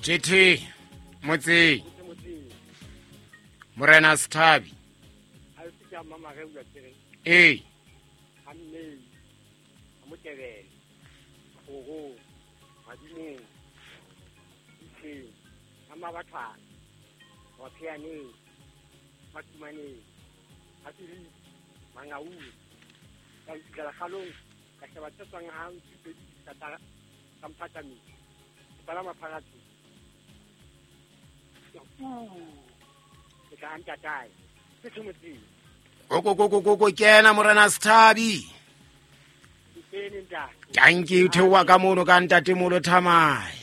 Jt motseng morena Sethabi. Ee, Kokokokoko kena morena Sethabi. Tanki theoha ka mono ka ntatemolo Thamai.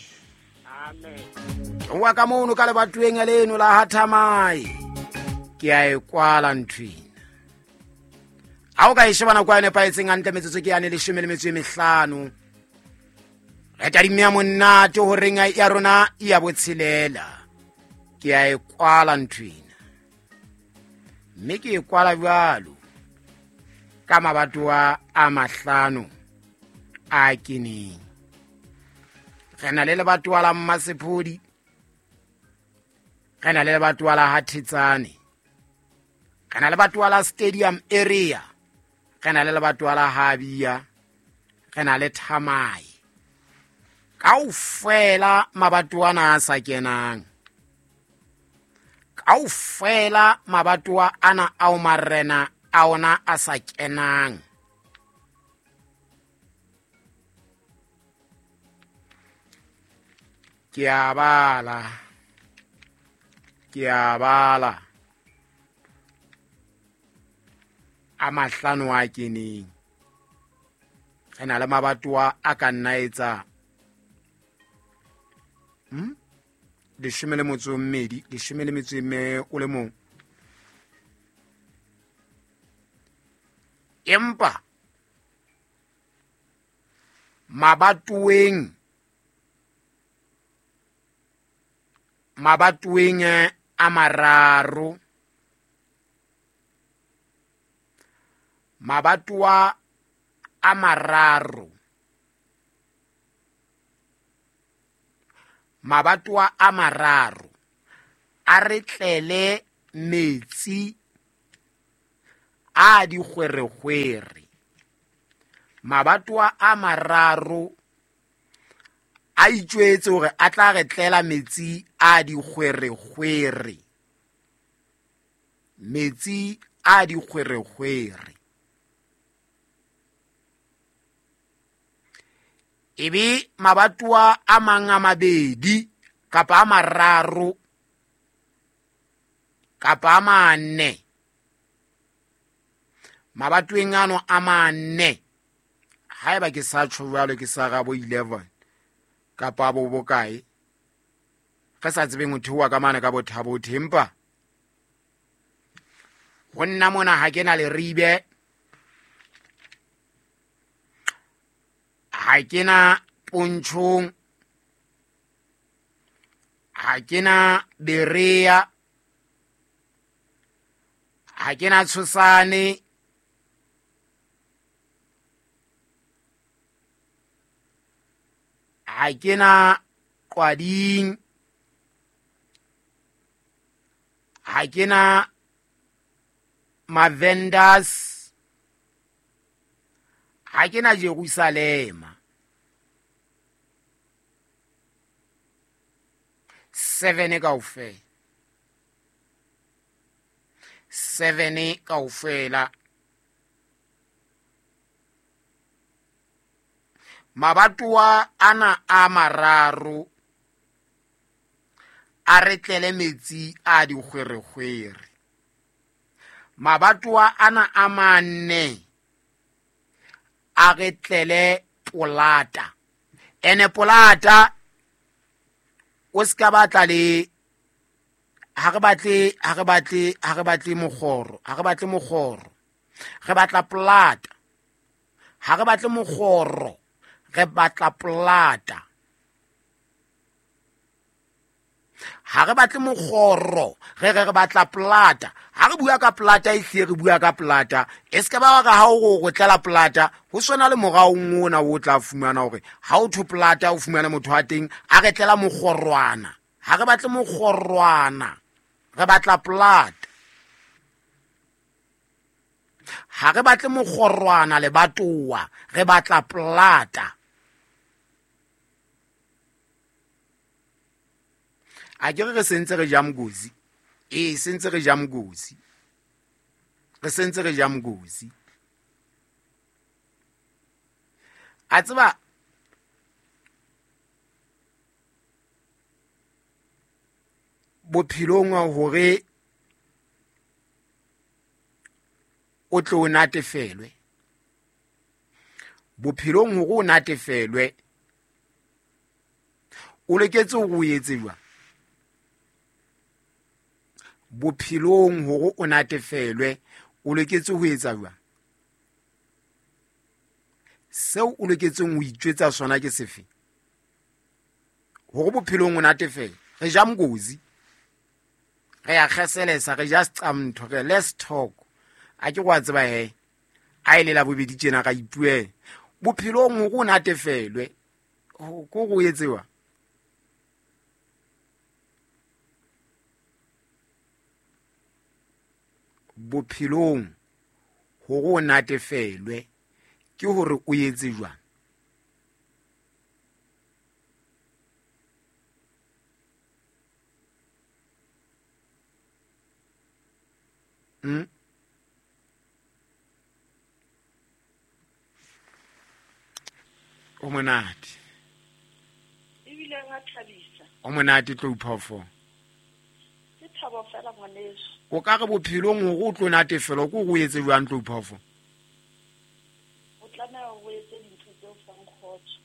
Theoha ka mono ka lebatoweng leno la ha Thamai. Ke a e kwala nthwena. Ha o ka e sheba nako ya nepahetseng hantle metsotso ke yane 15. Re tadimme ya monate horeng ya rona ya botshelela. Ke a e kwala nthwena. Mme ke e kwala jwalo ka mabatowa a mahlano a keneng. Re na le lebatowa la Mmasephodi, re na le lebatowa la Hathetsane, re na le lebatowa la Stadium Area, re na le lebatowa la Habia, re na le Thamai. Kaofela mabatowa ana a sa kenang, kaofela mabatowa ana ao marena a ona a sa kenang. Ke a bala, ke a bala a mahlano a keneng. Re na le mabatowa a ka nna etsa 12, 11. Empa mabatoweng a mararo, mabatowa a mararo, mabatowa a mararo a re tlele metsi a dikgwerekgwere. Mabatowa a mararo a itjwetse hore a tla re tlela metsi a dikgwerekgwere, metsi a dikgwerekgwere. Ebe mabatowa a mang a mabedi kapa a mararo kapa a mane, mabatoweng ano a mane, haeba ke sa tjho jwalo ke sa ga bo 11 kapa bo bokae, re sa tsebeng ho theoha ka mane ka bothabo empa ho nna mona ha ke na leribe, ha ke na Pontshong, ha ke na Berea, ha ke na Tshosane, ha ke na Qwading, ha ke na Mavenders, ha ke na Jerusalema. 7 kaofela, 7 kaofela. Mabatowa ana a mararo a re tlele metsi a dikgwerekgwere. Mabatowa ana a mane a re tlele polata. Ene polata o ska batla le ha re batle, ha re batle, ha re batle mokgoro, ha re batle mokgoro, re batla polata. Ha re batle mokgoro, re batla polata. Ga re batle mokgoro, re re re batla plata. Ga re bua ka plata, e hlile re bua ka plata. E se ka ba re ha o re o tlela plata, ho swana le moraong ona o tla fumana hore ha o thwe plata, o fumane motho wa teng a re tlela mokgorwana. Ga re batle mokgorwana, re batla plata. Ga re batle mokgorwana lebatowa, re batla plata. A ke re re sentse re ja mokozi. Ee, sentse re ja mokozi. Re sentse re ja mokozi. A tseba bophelong hore o tle o natefelwe. Bophelong hore o natefelwe, o loketse hore o etse jwang? Bophelong hore o natefelwe, o loketse ho etsa jwang? Seo o loketseng ho itjwetsa sona ke sefe? Hore bophelong o natefelwe. Re ja mokozi, re ya kgeselesa, re ja seqamntho, re let's talk. A ke go a tseba he, a e le la bobedi tjena ra ipuela. Bophelong hore o natefelwe, ko go etsewa? Bophelong hore o natefelwe ke hore o etse jwang? O monate. Ebile wa thabisa. O monate tlo phoofo. Ke thabo fela ngwaneso. O ka re bophelong hore o tlo natefelwa ke hore o etse jwang tlo phoofo? O tlameha o etse dintho tse o fang kgotso.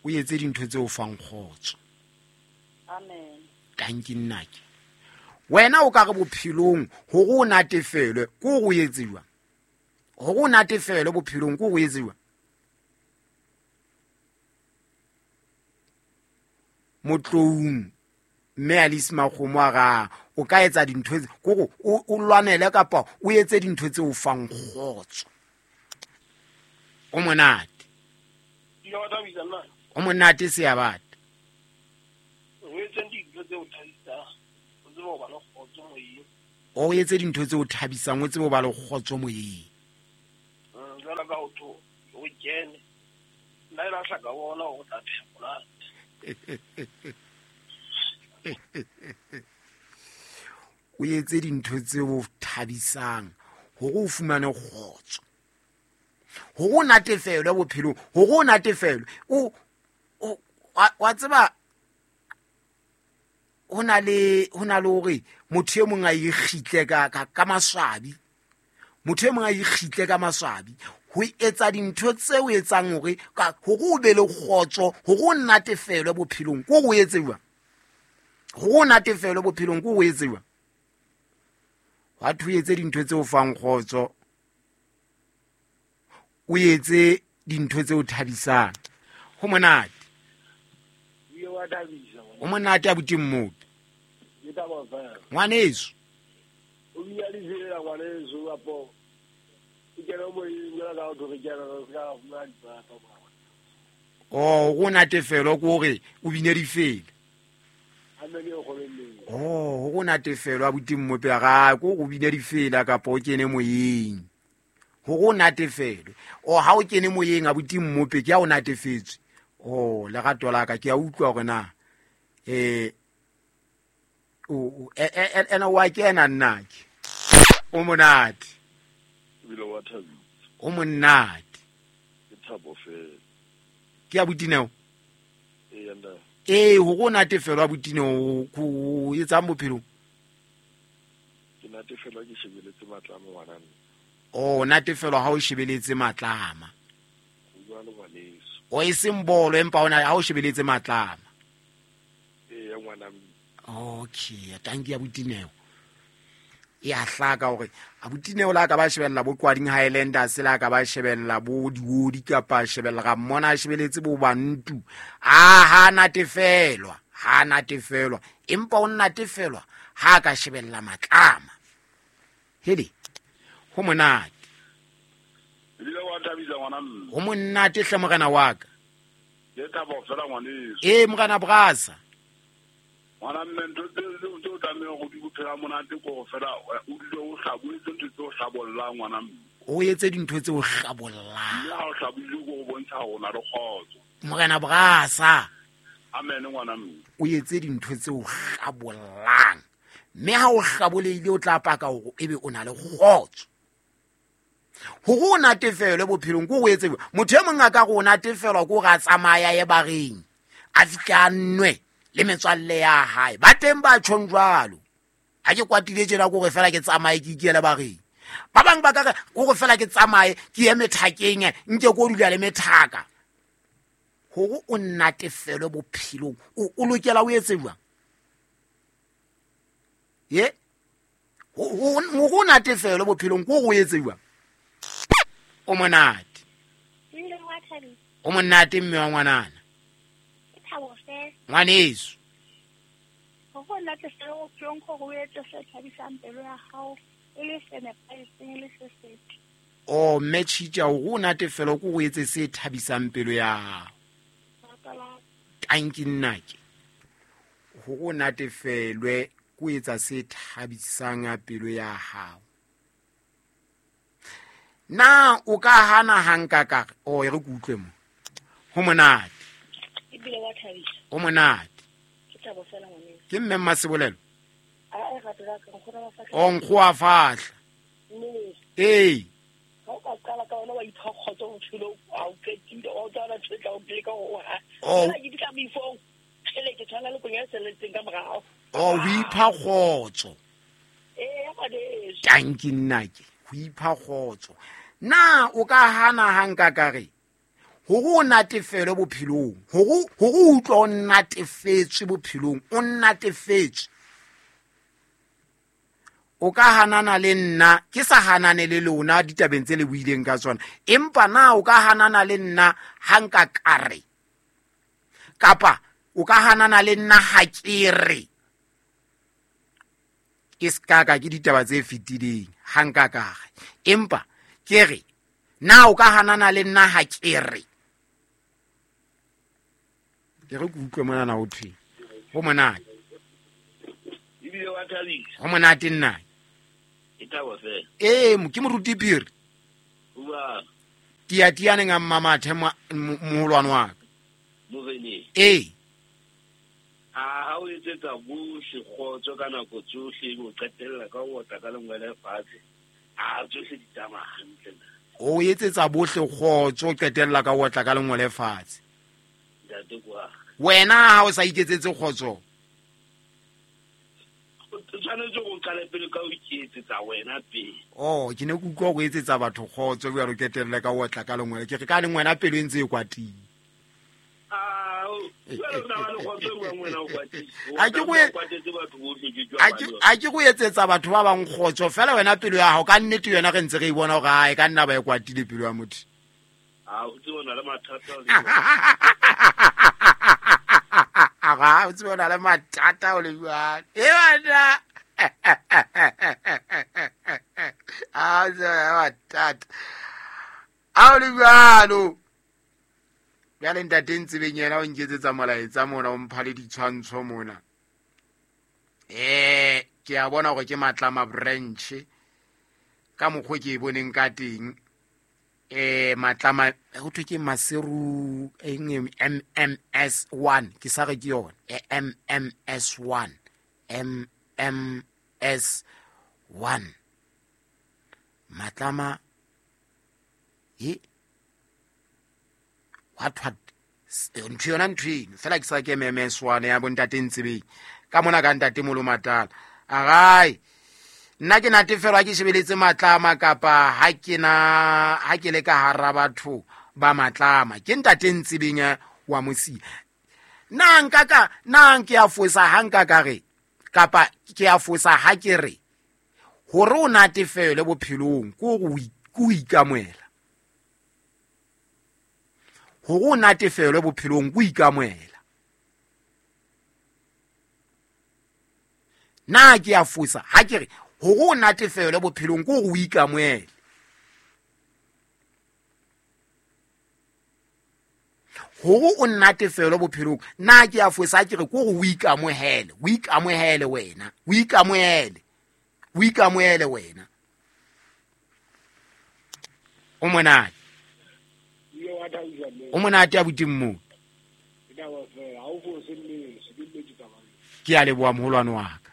O etse dintho tse o fang kgotso. Amen. Tanki nnake. Wena o ka re bophelong hore o natefelwe ke hore o etse jwang? Hore o natefelwe bophelong ke hore o etse jwang? Motloung mme Alice Makgomo a ra o ka etsa dintho tse kore o lwanele kapa o etse dintho tse o fang kgotso. O monate. O monate seabata. O etse dintho tse o thabisang, o tsebe ho ba le kgotso moyeng. O etse dintho tse o thabisang, o tsebe ho ba le kgotso moyeng. Jwalo ka ho tho, o kene. Nna e lahla ka bona hore o tla pheha monate. O etse dintho tse o thabisang hore o fumane kgotso. Hore o natefelwe bophelong, hore o natefelwe. Wa tseba ho na le hore motho e mong a ikgitle ka maswabi. Motho e mong a ikgitle ka maswabi. Ho etsa dintho tse o etsang hore hore o be le kgotso, hore o natefelwe bophelong, ke hore o etse jwang? Hore o natefelwe bophelong, ke hore o etse jwang? Hwa thwe o etse dintho tse o fang kgotso, o etse dintho tse o thabisang. Ho monate. O monate abuti Mmopi. Ngwaneso. O bina difela ngwaneso kapo ke kena moyeng jwalo ka ho re kena re ska fumana dipapa. Oh, go natefelwa ke hore o bine difela. Amen, e kgolo nneng. Oh, go natefelwa abuti Mmopi ga ko go bine difela kapa o kene moyeng. Go natefelwe. O ha o kene moyeng abuti Mmopi ke ha o natefetswe. Oh, lerato la ka ke a utlwa hore na o ena wa kena nna ke. O monate. Ebile wa thabisa. O monate. Ke thabo fela. Ke abuti Neo? Ee, nna. Ee, hore o natefelwa abuti Neo, o etsang bophelong? Ke natefelwa ke shebeletse matlama ngwana nna. Oh, natefelwa ha o shebeletse matlama. Ho jwalo ngwaneso. O e seng bolo empa ona ha o shebeletse matlama. Ee, ngwana mme. Okay, tanki abuti Neo. E a hlaka hore abuti Neo la ka ba shebella bo Qwading Highlanders, la ka ba shebella bo Diodi kapa shebella ga mmona a shebeletse bo Bantu. A ha natefelwa. Ha a natefelwa, empa o natefelwa ha a ka shebella Matlama. Hele, ho monate. Ebile wa thabisa ngwana mme. Ho monate hle morena wa ka. Ke thabo fela ngwaneso. Ee morena Brasa. Ngwana mme, ntho tse o tlamehang go di bophela monate ko go fela o dule o hlaboletse ntho tse o hlabollang ngwana mme. O etse dintho tse o hlabollang. Mme ha o hlabolile ko go bontsha gore o na le kgotso. Morena Brasa. Amen ngwana mme. O etse dintho tse o hlabollang. Mme ha o hlabolehile o tla paka hore ebe o na le kgotso. Hore o natefelwe bophelong ko o etse motho e mong a ka re o natefelwa ko re a tsamaya ye bareng, a fihle a nwe le metswalle ya hae. Ba teng ba tjhong jwalo. Ha ke kwatile tjena ko re fela ke tsamaye ke ikele bareng. Ba bang ba ka re ko re fela ke tsamaye ke ye methakeng, nke ko dula le methaka. Hore o natefelwe bophelong, o lokela o etse jwang? Ye? Hore o natefelwe bophelong ko o etse jwang? O monate. O monate mme wa ngwanana. Ngwaneso. Hore o natefelwe bophelong ko o etse se thabisang pelo ya hao, e le se nepahetseng, e le se setle. O mme Tjhitja, hore o natefelwe ko o etse se thabisang pelo ya hao. Tanki nnake. Hore o natefelwe ko etsa se thabisang pelo ya hao. Na o ka hana hanka ka re, o e re ke utlwe mo. Ho monate. Ebile wa thabisa. Ho monate. Ke thabo fela ngwaneng. Ke mme Mmasebolelo? A e rata la ka, nkgono wa fahla. O nkgo wa fahla. Mme. Ee. Ha o ka qala ka wena wa ipha kgotso bophelong, ha o qetile, o tla ntho e tla o leka hore o ha. Oh. Ke di tla moifong. Kgele, ke tshwana le konyana e salletseng ka morao. Oh, o ipha kgotso. Ee, ya ngwaneso. Tanki nnake, ho ipha kgotso. Na o ka hana ha nka ka re hore o natefelwe bophelong, hore o utlwe o natefetswe bophelong, o natefetswe. O ka hanana le nna, ke sa hanane le lona ditabeng tse le buileng ka tsona, empa na o ka hanana le nna ha nka ka re, kapa o ka hanana le nna ha ke re, ke ska ka ke ditaba tse fetileng ha nka ka re, empa ke re na o ka hanana le nna ha ke re. Ke re ke utlwe monana ho thwe ho monate. Ebile wa thabisa. Ho monate nna. Ke thabo fela. Ee, ke moruti Phiri. Bua. Tia tia neng a mmamathe moholwane wa ka. Moreneng. Ee. A ha o etsetsa bohle kgotso ka nako tsohle, ebe o qetella ka ho otla ka lengwele fatshe. A tsohle di tsamaya hantle na. O etsetsa bohle kgotso, o qetella ka ho otla ka lengwele fatshe. Ntate kwa. Wena ha o sa iketsetse kgotso? O tshwanetse go qale pele ka ho iketsetsa wena pele. Oh, ke ne ke utlwa go etsetsa batho kgotso, jwale o qetelle ka ho otla ka lengwele. Ke re ka leng wena pelo e ntse e kwatile. A ke go etsetsa batho ba bang kgotso fela wena pelo ya hao ka nnete yona re ntse re e bona hore ha e ka nna ba e kwatile pelo ya motho. A o tsebe o na le mathata o le Ga o tsebe o na le mathata o le jwang. E bana. A o tsebe o na le mathata. A o le jwalo. Jwale ntate Ntsebeng yena o nketsetsa molaetsa mona, o mpha le ditshwantsho mona. Ke a bona hore ke Matlama branch ka mokgwa ke e boneng ka teng. Matlama ho thwe ke Maseru eng, MMS 1, ke sa re ke yona. MMS 1, MMS 1. Matlama e what what ntho yona ntho eno fela ke sa ke MMS 1 ya bontate Ntsebeng ka mona ka ntate Molomatala. Agai nna ke natefelwa ke shebeletse Matlama kapa ha ke na ha ke le ka hara batho ba Matlama ke ntate Ntsebeng wa Mosia. Na nka ka na ke a fosa ha nka ka re kapa ke a fosa ha ke re hore o natefelwe bophelong ke hore o ikamoela. Hore o natefelwe bophelong ke o ikamoela. Na ke a fosa ha ke re hore o natefelwe bophelong ke hore o ikamohele. Hore o natefelwe bophelong, na ke a fosa ha ke re ke hore o ikamohele, o ikamohele wena, o ikamohele, o ikamohele wena. O monate. O monate abuti mmo. Ke a leboha moholwane wa ka.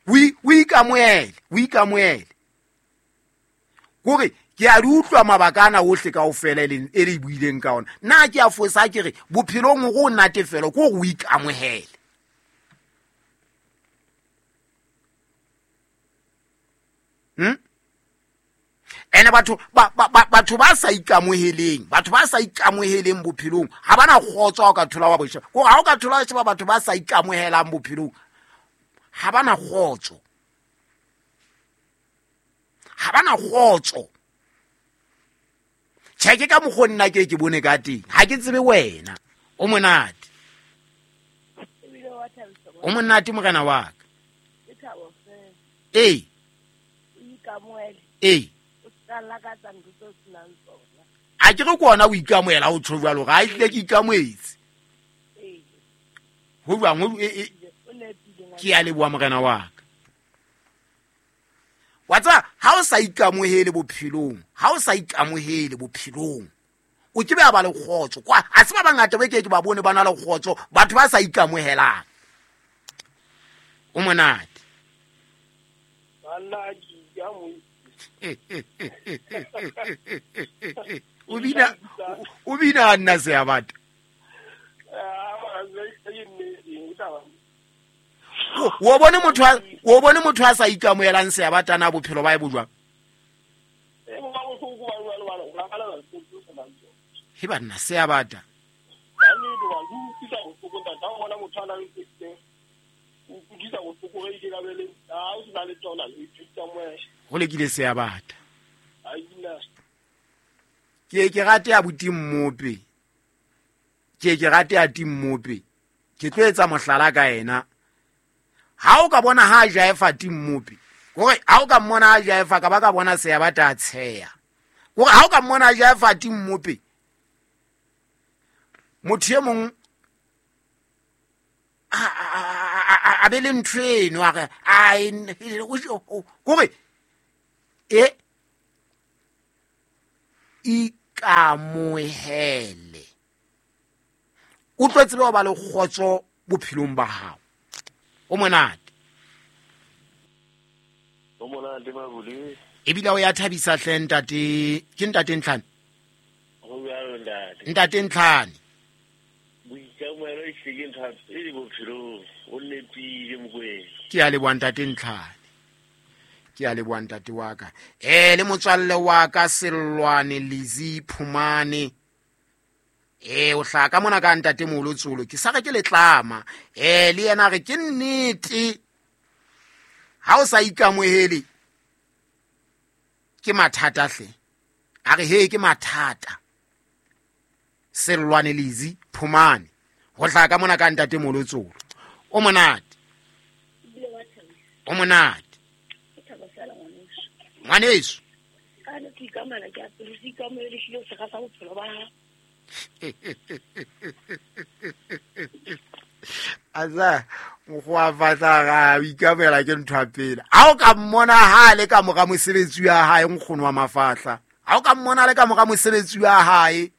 O ikamohele, o ikamohele. Kore ke a di utlwa mabaka ana ohle kaofela e le buileng ka ona. Na ke a fosa ke re bophelong hore o natefelwe ke hore o ikamohele. Ene batho batho ba sa ikamoheleng, batho ba sa ikamoheleng bophelong ha bana kgotso ha o ka thola wa bosheba. Kore ha o ka thola wa sheba batho ba sa ikamohelang bophelong ha bana kgotso. Ha bana kgotso. Tjhe, ke ka mokgwa nna ke bone ka teng. Ha ke tsebe wena. O monate. O monate morena wa ka. Ee. Ee. A ke re ke ona o ikamohela o tjho jwalo, ga ehlile ke ikamohetse. Ho jwang? Ke a leboha morena wa ka. Wa tseba, ha o sa ikamohele bophelong, ha o sa ikamohele bophelong, o ke be a ba le kgotso. Kwa, ha se ba bangata ba ke ke ba bone ba na le kgotso, batho ba sa ikamohelang. O monate. O bina nna Seabata. O bone motho a sa ikamohelang Seabata na bophelo ba e bo jwang? He banna Seabata. Ho lekile Seabata. Ke ke rate abuti Mmope. Ke ke rate ati Mmope. Ke tlo etsa mohlala ka yena. Ha o ka bona ha jaefa ti Mmope, hore ha o ka mmona ha jaefa ka ba ka bona Seabata a tsheya. Hore ha o ka mmona ha jaefa ti Mmope, motho e mong a be le ntho eno a re kore e ikamohele. O tlo tsebe ho ba le kgotso bophelong ba hao. O monate. O monate Mabule. Ebile o ya thabisa hle ntate, ke ntate Ntlhane? Ho jwalo ntate. Ntate Ntlhane. Boikamohelo e hlile ke ntho ya pele bophelong, o nepile Mokoena. Ke a leboha ntate Ntlhane. Ke a leboha ntate wa ka. Le motswalle wa ka Sellwane Lizzy Phumane. O hlaha ka mona ka ntate moholo Tsolo, ke sa re ke letlama. Le yena re ke nnete. Ha o sa ikamohele ke mathata hle. A re he ke mathata. Sellwane Lizzy Phumane ho hlaha ka mona ka ntate moholo Tsolo. O monate. O monate. Ngwaneso. Ka ne ke ikamela ke a pele se ikamohele hlile o se rasa bophelo ba hao. Aza mokgwa fatla ga o ikamela ke ntho ya pele. Ha o ka mmona ha le ka mora mosebetsi wa hae nkgono wa mafahla. Ha o ka mmona le ka mora mosebetsi wa hae,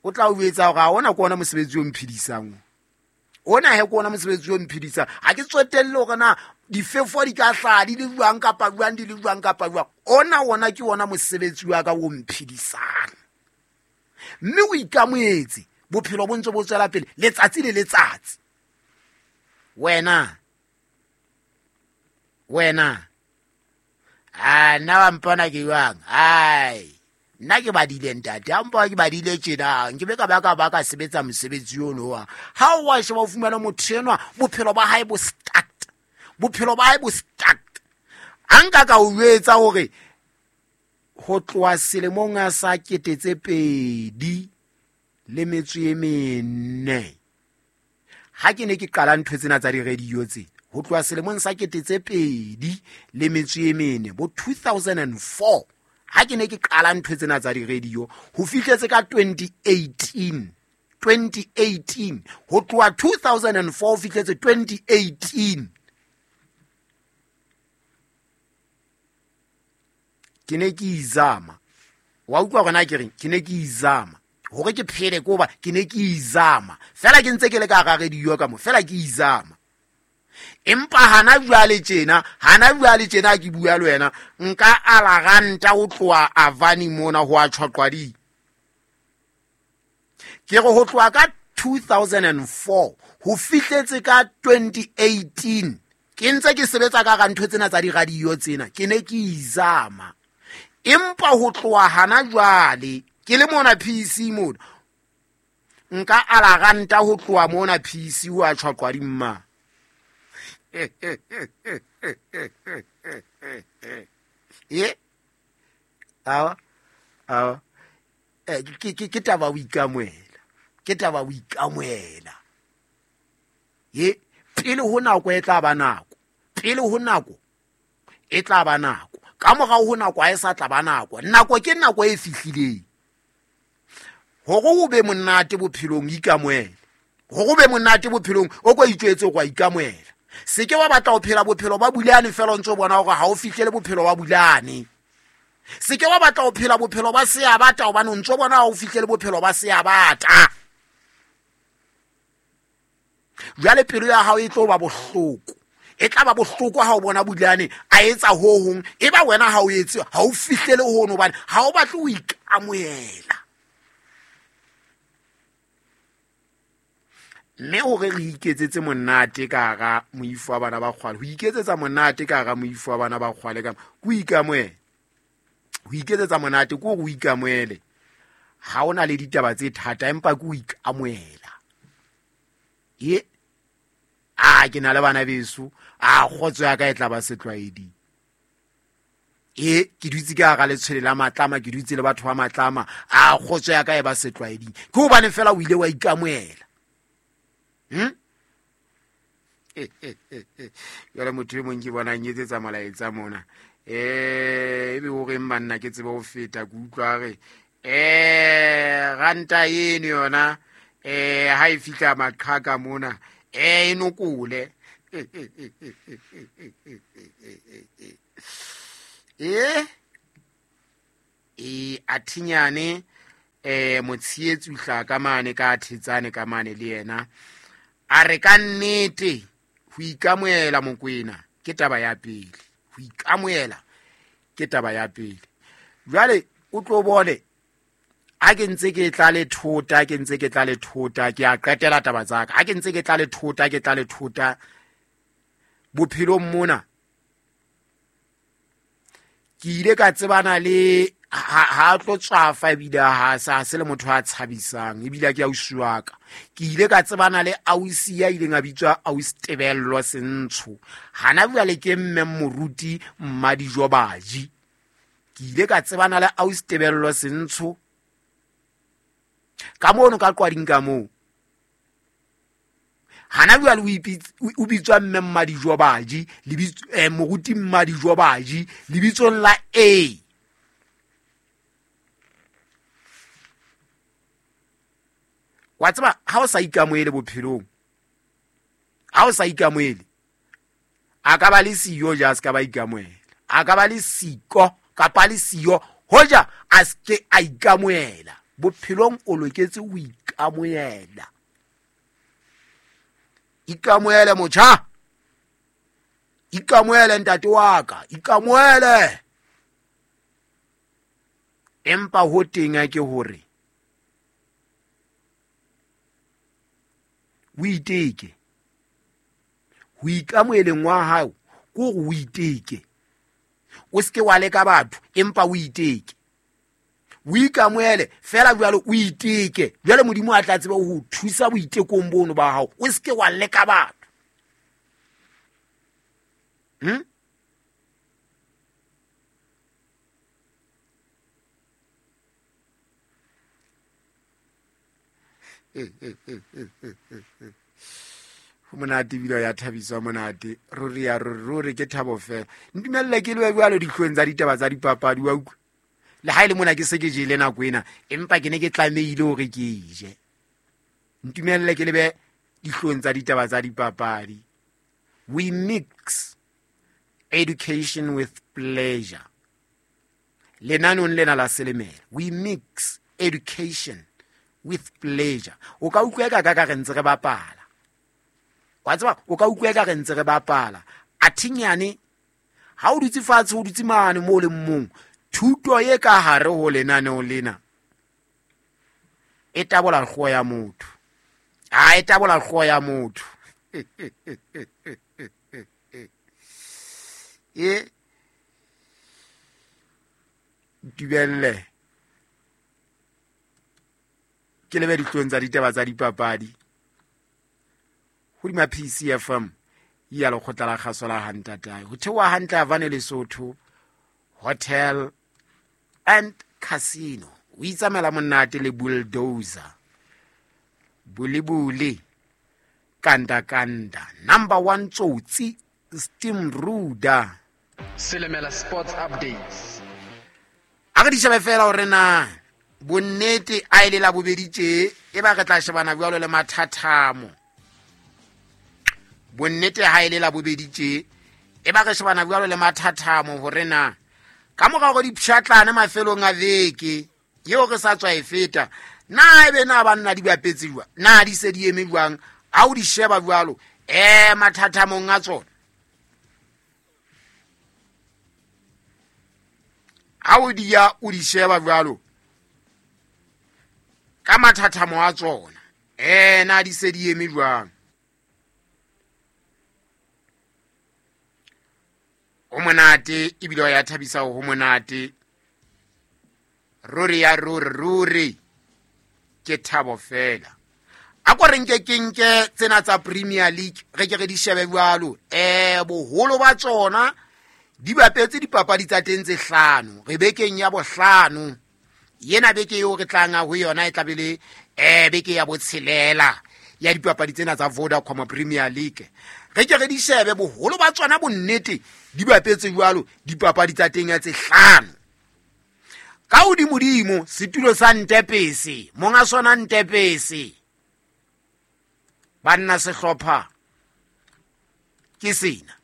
o tla o etsa hore ha ona ke ona mosebetsi o mphedisang. Ona he ke ona mosebetsi o mphedisang. Ha ke tsotelle hore na difefo di ka hlaha di le jwang kapa jwang, di le jwang kapa jwang. Ona wona ke ona mosebetsi wa ka o mphedisang. Mme o ikamohetse, bophelo bo ntse bo tswela pele letsatsi le letsatsi. Wena, a nna wa mpona ke jwang? Ai, nna ke badile ntate, ha mpona ke badile tjena, nke be ka ba ka ba ka sebetsa mosebetsi ono wa. Ha o wa sheba o fumana motho enwa, bophelo ba hae bo stuck. Bophelo ba hae bo stuck. Ha nka ka o jwetsa hore ho tloha selemong a sa 2004, ha ke ne ke qala ntho tsena tsa di-radio tsena, Ho tloha selemong sa 2004, bo 2004, ha ke ne ke qala ntho tsena tsa di-radio, ho fihletse ka 2018, 2018, ho tloha 2004 ho fihletse 2018, ke ne ke izama. Wa utlwa hore na ke reng? Ke ne ke izama hore ke phele, ke hoba ke ne ke izama fela, ke ntse ke le ka hara radio ka mo, fela ke izama. Empa hana jwale tjena, hana jwale tjena ke bua le wena, nka ala ranta ho tloha Avani mona ho a Tjhwaqwading. Ke re ho tloha ka 2004 ho fihletse ka 2018, ke ntse ke sebetsa ka hara ntho tsena tsa di-radio tsena, ke ne ke izama. Empa ho tloha hana jwale ke le mona PC mona, nka ala ranta ho tloha mona PC ho a Tjhwaqwading mma. E awa, awa. Ke taba o ikamoela, ke taba o ikamoela. Ye pele ho nako e tla ba nako, pele ho nako e tla ba nako, ka morao ho nako ha e sa tla ba nako. Nako ke nako e fihlileng. Hore o be monate bophelong, ikamoele. Hore o be monate bophelong, o ko itjwetse hore wa ikamoela. Se ke wa batla ho phela bophelo ba bulane fela o ntso bona hore ha o fihlele bophelo ba bulane. Se ke wa batla ho phela bophelo ba seabata hobane o ntso bona ha o fihlele bophelo ba seabata. Jwale pelo ya hao e tlo ba bohloko. E tla ba bohloko ha o bona bulane a etsa ho hong, e ba wena ha o etse, ha o fihlele hono hobane ha o batle ho ikamoela. Mme hore re iketsetse monate ka hara moifo wa bana ba kgwale, ho iketsetsa monate ka hara moifo wa bana ba kgwale ka ho ikamoela. Ho iketsetsa monate ke hore o ikamoele. Ha o na le ditaba tse thata, empa ke ho ikamoela. Ye, a ke na le bana beso, a kgotso ya ka e tla ba setlwaeding. E ke dutse ka hara letshwele la matlama, ke dutse le batho ba matlama, a kgotso ya ka e ba setlwaeding. Ke hobane fela o ile wa ikamoela. Jwale motho e mong ke bona a nyetsetsa molaetsa mona. Ebe o reng banna ke tsebe ho feta, ke utlwa re, ranta eno yona, ha e fihla maqhaka mona, e nokole. Athinyane, motshehetsi o hlaha ka mane ka thetsane ka mane le yena. A re ka nnete ho ikamoela Mokwena ke taba ya pele. Ho ikamoela ke taba ya pele. Jwale o tlo bone ha ke ntse ke tla le thota, ke ntse ke tla le thota, ke a qetela taba tsa ka. Ha ke ntse ke tla le thota, ke tla le thota bophelong mona. Ke ile ka tsebana le ha tlo tswafa ebile ha sa se le motho a tshabisang ebile ke ausi wa ka. Ke ile ka tsebana le ausi ya ileng a bitswa ausi Tebello Sentsho. Hana jwale ke mme moruti Mmadijo Baji. Ke ile ka tsebana le ausi Tebello Sentsho ka mono ka Qwading ka moo. Hana jwale o bitswa mme Mmadijo Baji, moruti Mmadijo Baji lebitsong la A. Wa tseba ha o sa ikamoele bophelong, ha o sa ikamoele, a ka ba le siyo ja a se ka ba ikamoela, a ka ba le siko kapa le siyo hoja a se ke a ikamoela. Bophelong o loketse ho ikamoela. Ikamoele motjha, ikamoele ntate wa ka, ikamoele. Empa ho teng a ke hore o iteke. Ho ikamoeleng wa hao ke hore o iteke. O se ke wa leka batho, empa o iteke. O ikamoele fela jwalo, o iteke. Jwale Modimo a tla tseba ho o thusa boitekong bono ba hao. O se ke wa leka batho. Go monate ebile ya thabiswa monate, ruri ya ruri ruri ke thabo fela. Ntumelele ke lewe jalo ditlhoeng tsa ditaba tsa dipapadi, wa utlwa. Le ha e le mona ke se ke jele nako ena, empa ke ne ke tlamehile hore ke e je. Ntumelele ke lebe dihlong tsa ditaba tsa dipapadi. We mix education with pleasure. Lenanong lena la Selemela, we mix education with pleasure. O ka utlwa ka ka re ntse re bapala. Wa tseba, o ka utlwa ka re ntse re bapala. Athinyane ha o dutse fatshe, o dutse mane mo le mong, thuto e ka hare ho lenaneo lena e tabola hlooho ya motho. A e tabola hlooho ya motho. E ntubelle ke lebe dihlong tsa ditaba tsa dipapadi hodima PCFM ya lekgotla la kgaso la Hantatae. Ho theoha hantle Havane Lesotho Hotel and Casino. O itsamela monate le bulldozer, bulibuli, kanda kanda, number 1 tsotsi, steam ruda. Selemela Sports Updates. A re di shebe fela hore na bonnete a ile la bobedi tje, e ba re tla shebana jwalo le mathathamo. Bonnete ha ile la bobedi tje, e ba re shebana jwalo le mathathamo hore na ka mora hore di pshatlane mafelong a veke yeo re sa tswa e feta, na ebe na banna di bapetse jwang, na di se di eme jwang, ha o di sheba jwalo mathathamong a tsona. Ha o di ya o di sheba jwalo ka mathathamo a tsona, na di se di eme jwang. O monate ebile ya thabisa ho monate, ruri ya ruri ruri ke thabo fela. A ko re nke ke nke tsena tsa Premier League re ke re di shebe jwalo. Boholo ba tsona di bapetse dipapadi tsa teng tse hlano, re bekeng ya bohlano. Yena beke eo re tlang ho yona e tla be le beke ya botshelela ya dipapadi tsena tsa Vodacom Premier League. Re ke re di shebe boholo ba tsona bonnete di bapetse jwalo dipapadi tsa teng ya tse hlano. Ka hodimodimo setulo sa Ntepese, monga sona Ntepese, banna sehlopha ke sena.